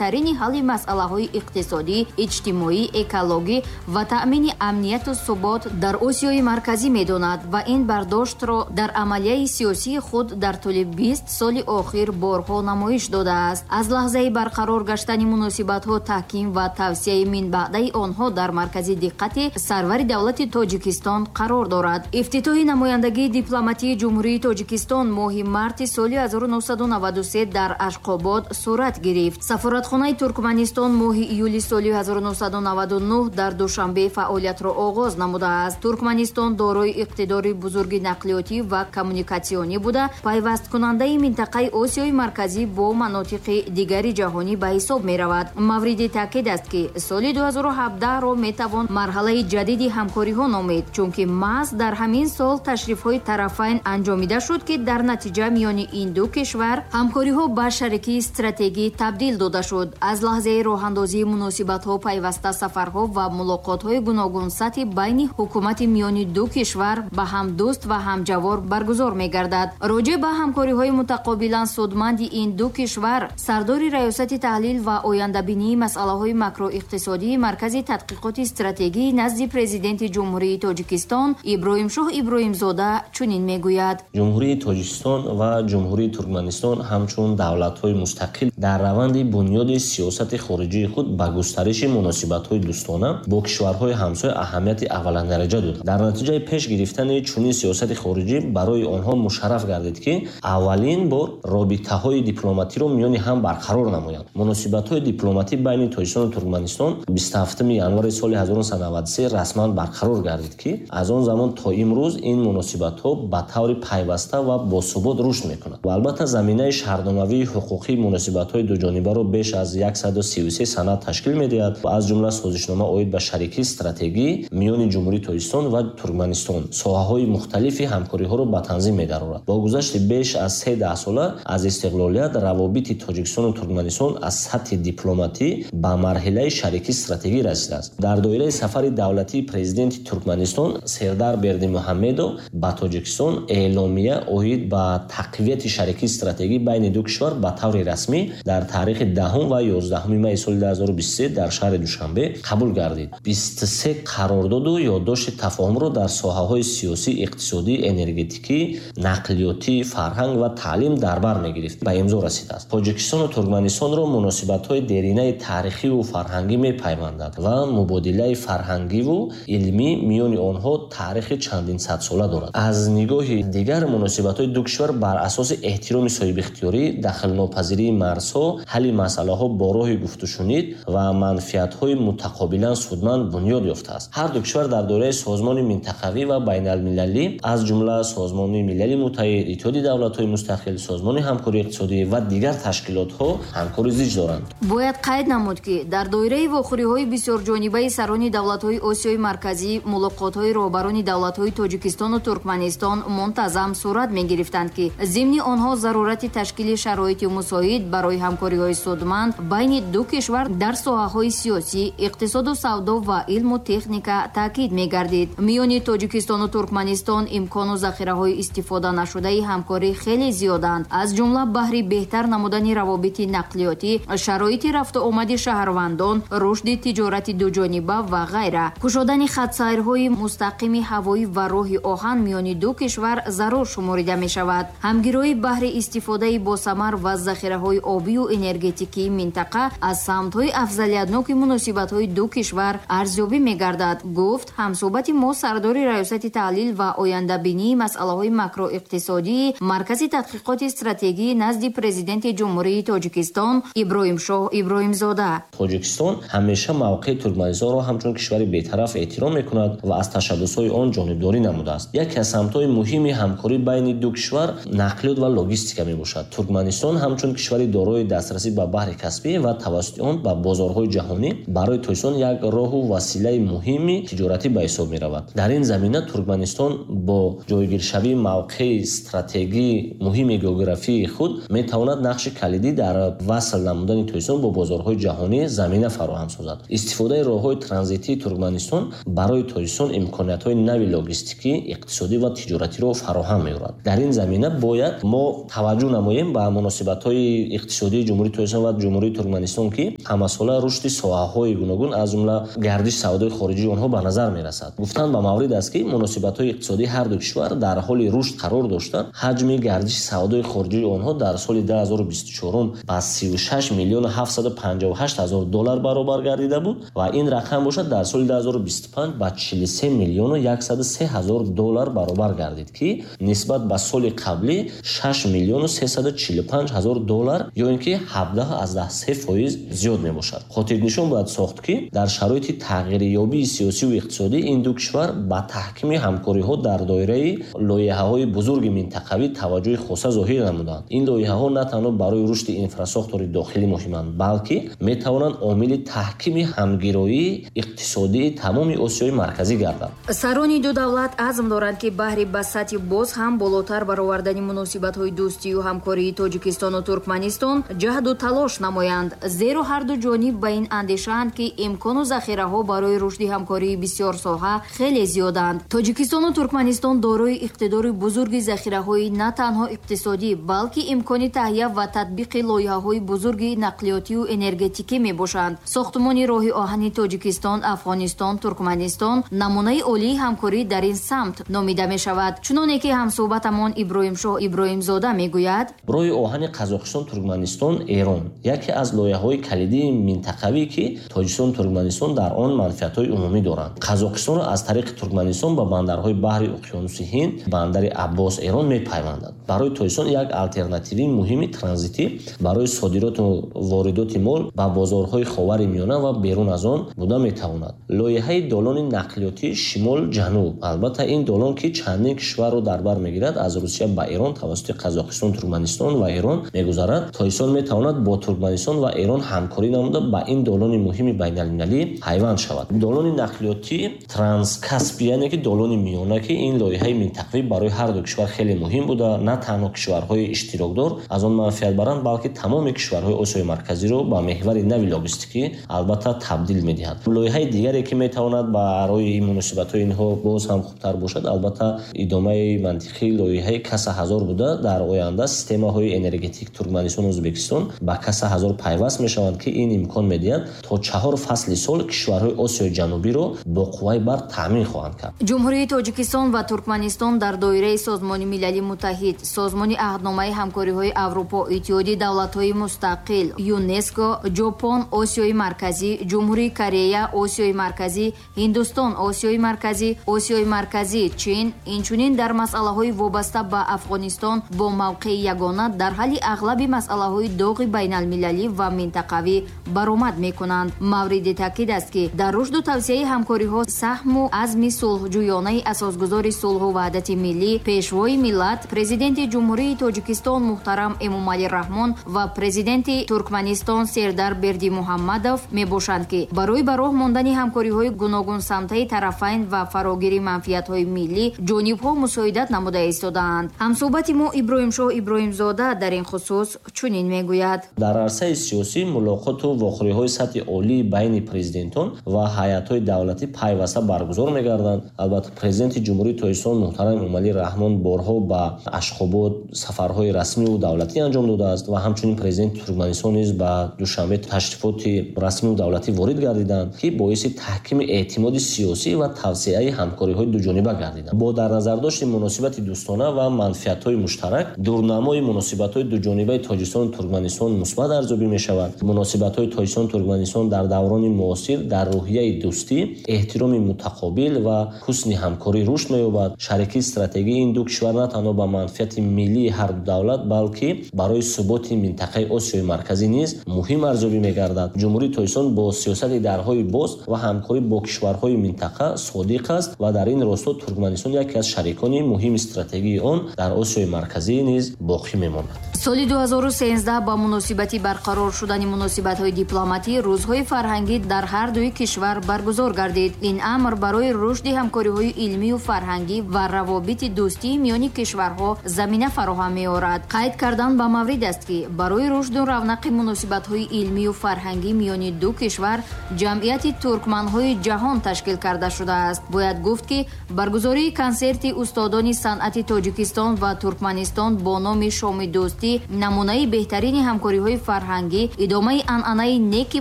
Тарини ҳалли масъалаҳои иқтисодӣ, иҷтимоӣ, экологӣ ва таъмини амнияту субот дар Осиёи Марказӣ медонад ва ин бардоштро дар амалияи сиёсии худ дар тӯли 20 соли охир борҳо намоиш додааст. Аз лаҳзаи барқарор гаштани муносибатҳо, таҳким ва тавсияи минбаъдаи онҳо дар маркази диққати сарвари давлати Тоҷикистон қарор дорад. Ифтитоҳи намояндагии дипломатии Ҷумҳурии Тоҷикистон моҳи марти соли 1993 дар Ашқобод сурат гирифт. Сафоратхонаи Туркманистон моҳи июли соли 1999 дар Душанбе фаъолиятро оғоз намудааст. Туркманистон дорои иқтидори бузурги нақлиётӣ ва коммуникатсионӣ буда, пайвасткунандаи минтақаи Осиёи Марказӣ бо манотиқи дигари ҷаҳонӣ ба ҳисоб меравад. Мавриди таъкид аст, ки соли 2017-ро метавон марҳалаи ҷадиди ҳамкориҳо номид, чунки маҳз дар ҳамин сол ташрифҳои тарафайн анҷомида шуд, ки дар натиҷа миёни ин ду кишвар ҳамкориҳо ба шарикии стратегӣ табдил дода шуд. Аз лаҳзаи роҳандозии муносибатҳо пайваста сафарҳо ва мулоқотҳои гуногунсатҳи байни ҳукумати миёни ду кишвар ба ҳамдӯст ва ҳамҷавор баргузор мегардад. Роҷеъ ба ҳамкориҳои мутақобилан судманди ин ду кишвар сардори Раёсати таҳлил ва ояндабинии масъалаҳои макроиқтисодии Маркази тадқиқоти стратегии назди Президенти Ҷумҳурии Тоҷикистон Иброҳимшоҳ Иброҳимзода чунин мегӯяд. Ҷумҳурии Тоҷикистон ва Ҷумҳурии Туркманистон ҳамчун давлатҳои мустақил дар раванди бунёди сиёсати хориҷии худ ба густариши муносибатҳои дӯстона бо кишварҳои ҳамсоя аҳамияти аввалиндараҷа доданд. Дар натиҷаи пеш гирифтани чунин сиёсати хориҷӣ барои онҳо мушарраф гардид, ки аввалин бор робитаҳои дипломатиро миёни ҳам барқарор намоянд. Муносибатҳои дипломатӣ байни Тоҷикистону Туркманистон 27 январи соли 1993 расман барқарор гардид, ки аз он замон то имрӯз ин муносибатҳо ба таври пайваста ва босубот рушд мекунанд. Ва албатта, заминаи шаҳрномавии ҳуқуқии муносибатҳои дуҷонибаро беш аз 133 санад ташкил медиҳад ва аз ҷумла созишнома оид ба шарикии стратегӣ миёни Ҷумҳурии Тоҷикистон ва Туркманистон соҳаҳои мухталифи ҳамкориҳоро ба танзим медарорад. Бо гузашти беш аз се даҳсола аз истиқлолият равобити Тоҷикистону Туркманистон аз сатҳи дипломатӣ ба марҳилаи шарикии стратегӣ расидааст. Дар доираи сафари давлатии президенти Туркманистон Сердар Бердимуҳаммедов ба Тоҷикистон эъломия оид ба тақвияти шарикии стратегӣ байни ду кишвар ба таври расмӣ дар таърихи 10 ва 11 майи соли 2023 дар шаҳри Душанбе қабул гардид. 23 қарордоду ёддошти тафоҳумро дар соҳаҳои сиёсӣ, иқтисодӣ, энергетикӣ, нақлиётӣ, фарҳанг ва таълим дар бар мегирифт, ба имзо расидааст. Тоҷикистону Туркманистонро муносибатҳои деринаи таърихиву фарҳангӣ мепайвандад ва мубодилаи фарҳангиву илмӣ миёни онҳо таърихи чандин садсола дорад. Аз нигоҳи дигар, муносибатҳои ду кишвар бар асоси эҳтироми соҳибихтиёрӣ, дахлнопазирии марзҳо, ҳалли масъалаҳо бо роҳи гуфтушунид ва манфиатҳои мутақобилан судманд бунёд ёфтааст. Ҳар ду кишвар дар доираи созмони минтақавӣ ва байналмилалӣ, аз ҷумла Созмони Милали Муттаҳид, Иттиҳоди Давлатҳои Мустақил, Созмони ҳамкории иқтисодӣ ва дигар ташкилотҳо ҳамкори зич доранд. Бояд қайд намуд, ки дар доираи вохӯриҳои бисёрҷонибаи сарони давлатҳои Осиёи Марказӣ мулоқотҳои роҳбарони давлатҳои Тоҷикистону Туркманистон мунтазам сурат мегирифтанд, ки зимни онҳо зарурати ташкили шароити мусоид барои ҳамкориҳои судманд байни ду кишвар дар соҳаҳои сиёсӣ, иқтисоду савдо ва илму техника таъкид мегардид. Миёни Тоҷикистону Туркманистон имкону захираҳои истифода нашудаи ҳамкорӣ хеле зиёданд, аз ҷумла баҳри беҳтар намудани равобити нақлиётӣ, шароити рафтуомади шаҳрвандон, рушди тиҷорати дуҷониба ва ғайра. Кушодани хатсайрҳои мустақими ҳавоӣ ва роҳи оҳан миёни ду кишвар зарур шуморида мешавад. Ҳамгироӣ баҳри истифодаи босамар ва захираҳои обию энергетикии минтақа аз самтҳои афзалиятноки муносибатҳои ду кишвар арзёбӣ мегардад, гуфт ҳамсӯҳбати мо сардори Раёсати таҳлил ва ояндабинии масъалаҳои макроиқтисодии Маркази тадқиқоти стратегии назди Президенти Ҷумҳурии Тоҷикистон Иброҳимшоҳ Иброҳимзода. Тоҷикистон ҳамеша мавқеи Туркманистонро ҳамчун кишвари бетараф эҳтиром мекунад ва аз ташаббусҳои он ҷонибдорӣ намудааст. Яке аз самтҳои муҳими ҳамкорӣ байни ду кишвар нақлиёт ва логистика мебошад. Туркманистон ҳамчун кишвари дорои дастрасӣ ба баҳри Каспӣ ва тавассути он ба бозорҳои ҷаҳонӣ барои Тоҷикистон як роҳу василаи муҳими тиҷоратӣ ба ҳисоб меравад. Дар ин замина Туркманистон бо ҷойгиршавии мавқеи стратегии муҳими географии худ метавонад нақши калидӣ дар васл намудани Тоҷикистон бо бозорҳои ҷаҳонӣ замина фароҳам созад. Истифодаи роҳҳои транзитии Туркманистон барои Тоҷикистон имкониятҳои нави логистикӣ, иқтисодӣ ва тиҷоратиро фароҳам меорад. Дар ин замина бояд мо таваҷҷӯҳ намоем ба муносибатҳои иқтисодии Ҷумҳурии Тоҷикистон ва Ҷумҳурии Туркманистон, ки ҳамасола рушди соҳаҳои гуногун, аз ҷумла гардиши савдои хориҷии онҳо ба назар мерасад. Гуфтан ба маврид аст, ки муносибатҳои иқтисодии ҳар ду кишвар дар ҳоли рушд қарор дошта, ҳаҷми гардиши савдои хориҷии онҳо дар соли 2024 ба 36 миллиону 758 ҳазор доллар баробар гардида буд ва ин рақам бошад дар соли 2025 ба 43 миллиону 103 ҳазор доллар баробар гардид, ки нисбат ба соли қаблӣ 6 миллиону 345 ҳазор доллар ё ин ки 17,3% зиёд мебошад. Хотирнишон бояд сохт, ки дар шароити тағйирёбии сиёсиву иқтисодӣ ин ду кишвар ба таҳкими ҳамкориҳо дар доираи лоиҳаҳои бузурги минтақавӣ таваҷҷӯҳи хоса зоҳир намуданд. Ин лоиҳаҳо на танҳо барои рушди инфрасохтори дохилӣ муҳиманд, балки метавонанд омили таҳкими ҳамгироии иқтисодии тамоми Осиёи Марказӣ гарданд. Сарони ду давлат азм доранд, ки баҳри ба сатҳи боз ҳам болотар баровардани муносибатҳои дӯстию ҳамкории Тоҷикистону Туркманистон ҷаҳду талош намоянд, зеро ҳар ду ҷониб ба ин андешаанд, ки имкону захираҳо барои рушди ҳамкории бисёрсоҳа хеле зиёданд. Тоҷикистону Туркманистон дорои иқтидори бузурги захираҳои на танҳо иқтисодӣ, балки имкони таҳия ва татбиқи лоиҳаҳои бузурги нақлиётию энергетикӣ мебошанд. Сохтмони роҳи оҳани Тоҷикистон, Афғонистон, Туркманистон намунаи олии ҳамкорӣ дар ин самт номида мешавад. Чуноне ки ҳамсӯҳбатамон Иброҳимшоҳ Иброҳимзода мегӯяд, роҳи оҳани Қазоқистон, Туркманистон, Эрон яке аз лоиҳаҳои калидии минтақавӣ, ки Тоҷикистон, Туркманистон дар он манфиатҳои умумӣ доранд. Қазоқистонро аз тариқи Туркманистон ба бандарҳои баҳри уқёнуси Ҳинд, бандари Аббос, Эрон мепайвандад. Барои Тоҷикистон як алтернативии муҳими транзитӣ барои содироту воридоти мол ба бозорҳои Ховари Миёна ва берун аз он буда метавонад. Лоиҳаи долони нақлиётии шимол-ҷануб, албатта ин долон, ки чандин кишварро дар бар мегирад, аз Русия ба Эрон тавассути Қазоқистон, Туркманистон ва Эрон мегузарад. Тоҷикистон метавонад бо Туркманистон ва Эрон ҳамкорӣ намуда ба ин долони муҳими байналмилалӣ пайванд шавад. Долони нақлиётии Транскаспи, яъне ки долони миёна, ки ин лоиҳаи минтақавӣ барои ҳар ду кишвар хеле муҳим буда, на танҳо кишварҳои иштирокдор аз он манфиат баранд, балки тамоми кишварҳои Осиёи Марказиро ба меҳвари нави логистикӣ албатта табдил медиҳад. Лоиҳаи дигаре, ки метавонад барои муносибатҳои инҳо боз ҳам хубтар бошад, албатта идомаи мантиқии лоиҳаи Каса ҳазор буда, дар оянда системаҳои энергетик Туркманистон ва Ӯзбекистон ба Каса ҳазор пайваст мешаванд, ки ин имкон медиҳад то 4 фасли сол кишварҳои Осиёи Ҷанубиро бо қувваи барқ таъмин хоҳанд кард. Ҷумҳурии Тоҷикистон ва Туркманистон дар доираи Созмони Милали Муттаҳид, Созмони Аҳдномаи ҳамкориҳои Аврупо, Иттиҳоди давлатҳои мустақил, ЮНЕСКО, Ҷопон, Осиёи Марказӣ, Ҷумҳурии Корея, Осиёи Марказӣ, Ҳиндустон, Осиёи Марказӣ, Осиёи Марказӣ, Чин, инчунин дар масъалаҳои вобаста ба Афғонистон бо мавқеи ягона дар ҳалли ағлаби масъалаҳои доғи байналмилалӣ ва минтақавӣ баромад мекунанд. Мавриди таъкид аст, ки дар рушду тавсияи ҳамкориҳо саҳму азми сулҳҷӯёнаи асосгузори сулҳу ваҳдати миллӣ, Пешвои миллат, Президенти Ҷумҳурии Тоҷикистон муҳтарам Эмомалӣ Раҳмон ва Президенти Туркманистон Сердар Бердимуҳаммадов мебошанд, ки барои ба роҳ мондани ҳамкориҳои гуногунсамтаи тарафайн ва фарогири манфиатҳои миллӣ ҷонибҳо мусоидат намуда истодаанд. Ҳамсӯҳбати мо Иброҳимшоҳ Иброҳимзода дар ин хусус чунин мегӯяд: дар арсаи сиёсӣ мулоқоту вохӯриҳои сатҳи олии байни президентон ва ҳайатҳои давлатӣ пайваста баргузор мегарданд. Албатта Президенти Ҷумҳурии Тоҷикистон муҳтарам Эмомалӣ Раҳмон борҳо ба Ашхобод сафарҳои расмиву давлатӣ анҷом додааст ва ҳамчунин Президенти Туркманистон низ ба Душанбе ташрифоти расмиву давлатӣ ворид гардиданд, ки боиси таҳкими эътимоди сиёсӣ ва тавсеаи ҳамкориҳои дуҷониба гардиданд. Бо дар назардошти муносибати дӯстона ва манфиатҳои муштарак, дурнамои муносибатҳои дуҷонибаи Тоҷикистону Туркманистон мусбат арзёбӣ мешавад. Муносибатҳои Тоҷикистону Туркманистон дар даврони муосир дар рӯҳияи дӯстӣ, эҳтироми мутақобил ва ҳусни ҳамкорӣ рушд меёбад. Шарикии стратегии ин ду кишвар на танҳо ба манфиати миллии ҳар ду давлат, балки барои суботи минтақаи Осиёи Марказӣ низ муҳим арзёбӣ мегардад. Ҷумҳурии Тоҷикистон бо сиёсати дарҳои боз ва ҳамкорӣ бо кишварҳои минтақа содиқ аст ва дар ин росто Туркманистон яке аз шарикони муҳими стратегии он дар Осиёи Марказӣ низ боқӣ мемонад. Соли 2013 ба муносибати барқарор шудани муносибатҳои дипломатӣ рӯзҳои фарҳангӣ дар ҳар дуи кишвар баргузор гардид. Ин амр барои рушди ҳамкориҳои илмию фарҳангӣ ва равобити дӯстии миёни кишварҳо замина фароҳам меорад. Қайд кардан ба маврид аст, ки барои рушду равнақи муносибатҳои илмию фарҳангӣ миёни ду кишвар ҷамъияти туркманҳои ҷаҳон ташкил карда шудааст. Бояд гуфт, ки баргузории консерти устодони санъати Тоҷикистон ва Туркманистон бо номи Шоми дӯстӣ дӯстӣ, намунаи беҳтарини ҳамкориҳои фарҳангӣ, идомаи анъанаи неки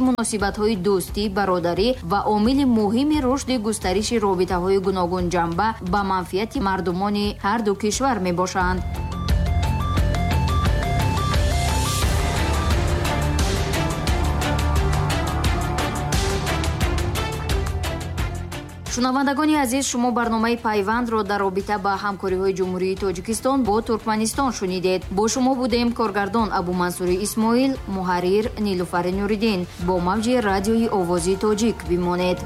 муносибатҳои дӯстӣ, бародарӣ ва омили муҳими рушди густариши робитаҳои гуногунҷанба ба манфиати мардумони ҳар ду кишвар мебошанд. Шунавандагони азиз, шумо барномаи Пайвандро дар робита ба ҳамкориҳои Ҷумҳурии Тоҷикистон бо Туркманистон шунидед. Бо шумо будем коргардон Абумансури Исмоил, муҳаррир Нилуфари Нуриддин. Бо мавҷи радиои Овози Тоҷик бимонед.